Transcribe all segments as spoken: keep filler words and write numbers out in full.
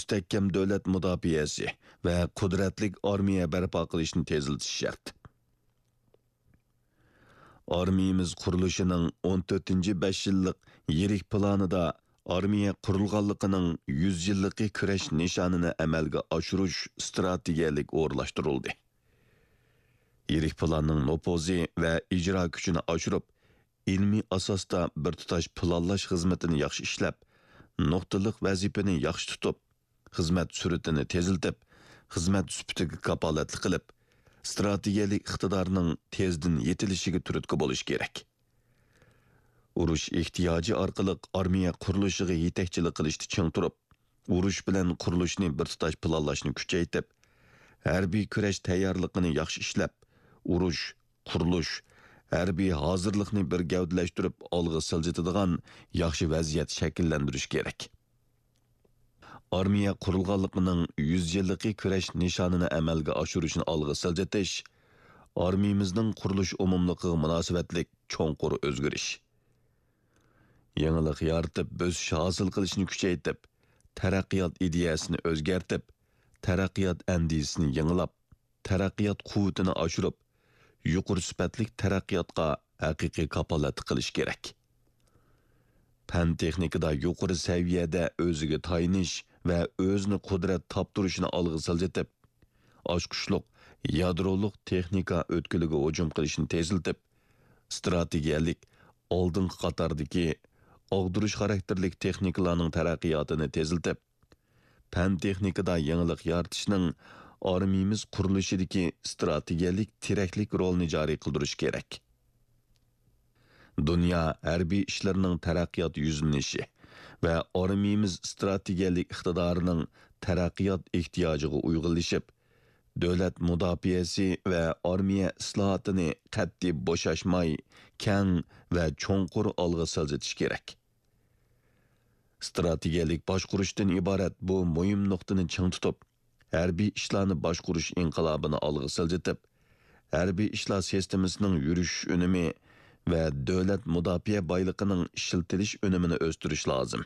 مۇستەھكەم دۆلەت مۇداپىئەسى ۋە قۇدرەتلىك ئارمىيە بەرپا قىلىشنى تېزلىتىش شەرت. ئارمىيىمىز قۇرۇلۇشىنىڭ ئون تۆتىنچى بەش يىللىق يىرىك پىلانىدا ئارمىيە قۇرۇلغانلىقىنىڭ يۈز يىللىقى كۈرەش نىشانىنى ئەمەلگە ئاشۇرۇش ئىستراتېگىيەلىك ئورۇنلاشتۇرۇلدى. يىرىك پىلاننىڭ نوپۇزى ۋە ئىجرا كۈچىنى ئاشۇرۇپ، ئىلمىي ئاساستا بىر تۇتاش پىلانلاش خىزمىتىنى ياخشى ئىشلەپ، نۇقتىلىق ۋەزىپىنى ياخشى تۇتۇپ، خىزمەت سۈرئىتىنى تېزلىتىپ، خىزمەت سۈپىتىگە كاپالەتلىك قىلىپ، ئىستراتېگىيەلىك ئىقتىدارنىڭ تېزدىن يېتىلىشىگە تۈرتكە بولۇش كېرەك. ئۇرۇش ئېھتىياجى ئارقىلىق ئارمىيە قۇرۇلۇشىغا يېتەكچىلىك قىلىشتا چىڭ تۇرۇپ، ئۇرۇش بىلەن قۇرۇلۇشنى بىر تۇتاش پىلانلاشنى كۈچەيتىپ، ھەربىي كۈرەش تەييارلىقىنى ياخشى ئىشلەپ، ئۇرۇش، قۇرۇلۇش، ھەربىي ھازىرلىقنى بىر گەۋدىلەشتۈرۈپ ئالغا سىلجىتىدىغان ياخشى ۋەزىيەت شەكىللەندۈرۈش كېرەك. ئارمىيە قۇرۇلغانلىقىنىڭ يۈز يىللىقى كۈرەش نىشانىنى ئەمەلگە ئاشۇرۇشنى ئالغا سىلجىتىش، ئارمىيىمىزنىڭ قۇرۇلۇش ئومۇملۇقىغا مۇناسىۋەتلىك چوڭقۇر ئۆزگىرىش. يېڭىلىق يارىتىپ، بۆسۈش ھاسىل قىلىشنى كۈچەيتىپ، تەرەققىيات ئىدىيەسىنى ئۆزگەرتىپ، تەرەققىيات ئەندىزىسىنى يېڭىلاپ، تەرەققىيات قۇۋۋىتىنى ئاشۇرۇپ، يۇقىرى سۈپەتلىك تەرەققىياتقا ھەقىقىي كاپالەتلىك قىلىش كېرەك. پەن-تېخنىكىدا يۇقىرى سەۋىيەدە ئۆزىگە تايىنىش ۋە ئۆزىنى قۇدرەت تاپتۇرۇشىنى ئالغا سىلجىتىپ، ئاچقۇچلۇق يادرولۇق تېخنىكا ئۆتكىلىگە ھۇجۇم قىلىشنى تېزلىتىپ، ئىستراتېگىيەلىك ئالدىنقى قاتاردىكى ئاغدۇرۇش خاراكتېرلىك تېخنىكىلارنىڭ تەرەققىياتىنى تېزلىتىپ، پەن-تېخنىكىدا يېڭىلىق يارىتىشنىڭ ئارمىيىمىز قۇرۇلۇشىدىكى ئىستراتېگىيەلىك تىرەكلىك رولىنى جارى قىلدۇرۇش كېرەك. دۇنيا ھەربىي ئىشلىرىنىڭ تەرەققىيات يۈزلىنىشى ۋە ئارمىيىمىز ئىستراتېگىيەلىك ئىقتىدارىنىڭ تەرەققىيات ئېھتىياجىغا ئۇيغۇنلىشىپ، دۆلەت مۇداپىئەسى ۋە ئارمىيە ئىسلاھاتىنى قەتئىي بوشاشماي، كەڭ ۋە چوڭقۇر ئالغا سىلجىتىش كېرەك. ئىستراتېگىيەلىك باشقۇرۇشتىن ئىبارەت بۇ مۇھىم نۇقتىنى چىڭ تۇتۇپ، ھەربىي ئىشلارنى باشقۇرۇش ئىنقىلابىنى ئالغا سىلجىتىپ، ھەربىي ئىشلار سىستېمىسىنىڭ يۈرۈشۈش ئۈنۈمى ۋە دۆلەت مۇداپىئە بايلىقىنىڭ ئىشلىتىلىش ئۈنۈمىنى ئۆستۈرۈش لازىم.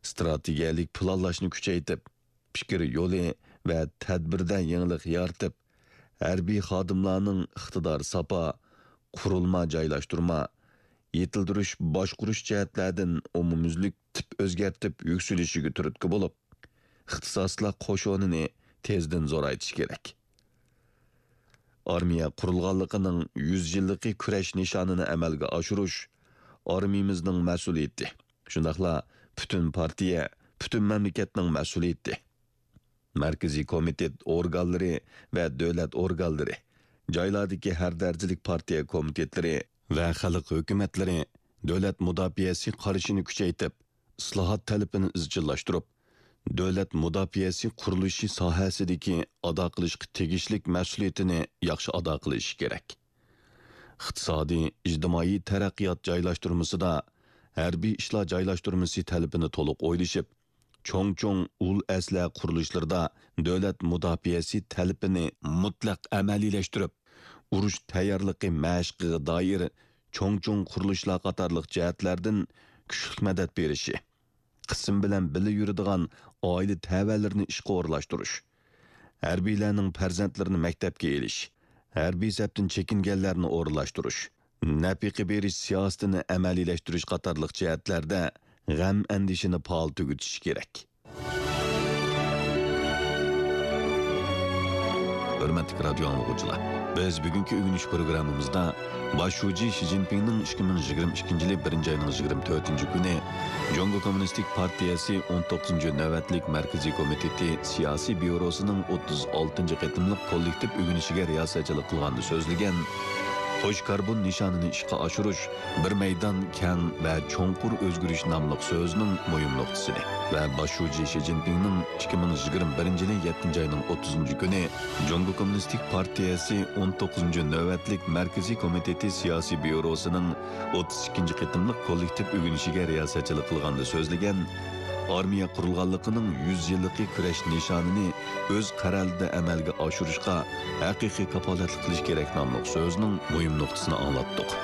ئىستراتېگىيەلىك پىلانلاشنى كۈچەيتىپ، پىكىر يولى ۋە تەدبىردە يېڭىلىق يارىتىپ، ھەربىي خادىملارنىڭ ئىقتىدار ساپا، قۇرۇلما جايلاشتۇرما، يېتىلدۈرۈش، باشقۇرۇش جەھەتلەردىن ئومۇميۈزلۈك تىپ ئۆزگەرتىپ يۈكسىلىشىگە تۈرتكە بولۇپ، ئىختىساسلار قوشۇنىنى تېزدىن زورايتىش كېرەك. ئارمىيە قۇرۇلغانلىقىنىڭ يۈز يىللىقى كۈرەش نىشانىنى ئەمەلگە ئاشۇرۇش ئارمىيىمىزنىڭ مەسئۇلىيىتى، شۇنداقلا پۈتۈن پارتىيە، پۈتۈن مەملىكەتنىڭ مەسئۇلىيىتى. مەركىزىي كومىتېت ئورگانلىرى ۋە دۆلەت ئورگانلىرى، جايلاردىكى ھەر دەرىجىلىك پارتىيە كومىتېتلىرى ۋە خەلق ھۆكۈمەتلىرى دۆلەت مۇداپىئەسى قارىشىنى كۈچەيتىپ، ئىسلاھات تەلىپىنى ئىزچىللاشتۇرۇپ، دۆلەت مۇداپىئەسى قۇرۇلۇشى ساھەسىدىكى ئادا قىلىشقا تېگىشلىك مەسئۇلىيىتىنى ياخشى ئادا قىلىشى كېرەك. ئىقتىسادىي، ئىجتىمائىي تەرەققىيات جايلاشتۇرمىسىدا ھەربىي ئىشلار جايلاشتۇرمىسى تەلىپىنى تولۇق ئويلىشىپ، چوڭ-چوڭ ئۇل ئەسلىھە قۇرۇلۇشلىرىدا دۆلەت مۇداپىئەسى تەلىپىنى مۇتلەق ئەمەلىيلەشتۈرۈپ، ئۇرۇش تەييارلىقى مەشقىگە دائىر چوڭ-چوڭ قۇرۇلۇشلار قاتارلىق جەھەتلەردىن كۈچلۈك مەدەت بېرىشى، قىسىم بىلەن بىللە يۈرىدىغان ئائىلە تەۋەلىرىنى ئىشقا ئورۇنلاشتۇرۇش، ھەربىيلەرنىڭ پەرزەنتلىرىنى مەكتەپكە ئېلىش، ھەربىي سەپتىن چېكىنگەنلەرنى ئورۇنلاشتۇرۇش، نەپىقە بېرىش سىياسىتىنى ئەمەلىيلەشتۈرۈش قاتارلىق جەھەتلەردە غەم-ئەندىشىنى پائال تۈگىتىش كېرەك. ھۆرمەتلىك رادىيو ئاڭلىغۇچىلار، بىز بۈگۈنكى ئۆگىنىش پروگراممىمىزدا باش شۇجى شى جىنپىڭنىڭ ئىككى مىڭ يىگىرمە ئىككىنچى يىلى بىرىنچى ئاينىڭ يىگىرمە تۆتىنچى كۈنى جۇڭگو كوممۇنىستىك پارتىيەسى ئون توققۇزىنچى نۆۋەتلىك مەركىزىي كومىتېتى سىياسىي بيۇروسىنىڭ ئوتتۇز ئالتىنچى قېتىملىق كوللېكتىپ ئۆگىنىشىگە رىياسەتچىلىك قىلغاندا سۆزلىگەن، قوش كاربون نىشانىنى ئىشقا ئاشۇرۇش بىر مەيدان كەڭ ۋە چوڭقۇر ئۆزگىرىش ناملىق سۆزىنىڭ مۇھىم نۇقتىسىنى ۋە باش شۇجى شى جىنپىڭنىڭ ئىككى مىڭ يىگىرمە بىرىنچى يىلى يەتتىنچى ئاينىڭ ئوتتۇزىنچى كۈنى جۇڭگو كوممۇنىستىك پارتىيەسى ئون توققۇزىنچى نۆۋەتلىك مەركىزىي كومىتېتى سىياسىي بيۇروسىنىڭ ئوتتۇز ئىككىنچى قېتىملىق كوللېكتىپ ئۆگىنىشىگە رىياسەتچىلىك قىلغاندا سۆزلىگەن، ئارمىيە قۇرۇلغانلىقىنىڭ يۈز يىللىقى كۈرەش نىشانىنى ئۆز قەرەلىدە ئەمەلگە ئاشۇرۇشقا ھەقىقىي كاپالەتلىك قىلىش كېرەك ناملىق سۆزنىڭ مۇھىم نۇقتىسىنى ئاڭلاتتۇق.